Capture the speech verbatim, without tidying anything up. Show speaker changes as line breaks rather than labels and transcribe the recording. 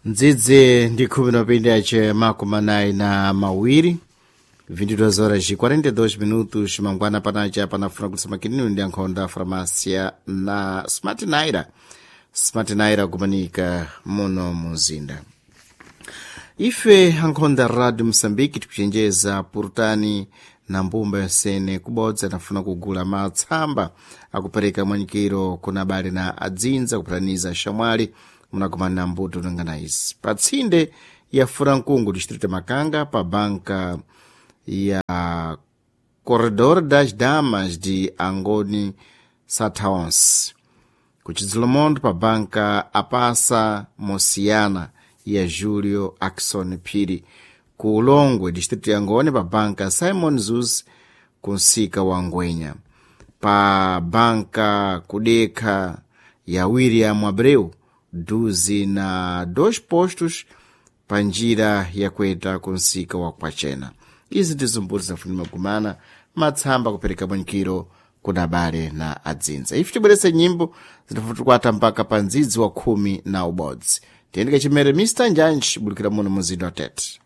Ndzidzi ndi khumi na pindi ace makumi anayi na mawiri, vinte e duas horas e quarenta e dois minutos. Mangwana panaca panafuna kutsama kinini ndi ankhonda farmácia na Smart Naira, Smart Naira kumanika muno muzinda. Ife ankhonda Radio Moçambique tikuchenjeza purutani na mbumba yonsene kubodza nafuna kugula matsamba akupereka mwanyikiro kuna abale na adzinza kupataniza shamwali munakumana na mbuto nangana izi patsinde ya Furankungu, distrito Makanga, pa banka ya Corredor das Damas de Angoni Sataons, kuchidzolomondo pa banka Apasa Mosiana ya Julio Akson Phiri, ku Ulongwe, distrito ya Ngone, pa banka Simon Zuz kunsika wa Ngwenya, pa banka Kudekha ya William Abreu duzi na dois postos pa njira yakweta kunsika wa Kwachena. Izi ndizo mbuto zafuni magumana matsamba kupereka bwanikiro kuna abale na adzinza. Ife tibweretse nyimbo zinafutukwata mpaka pa ndzidzi wa khumi na ubodzi. Tiyendeke chimere Mister Njanji bulukira muno muzinda wa Tete.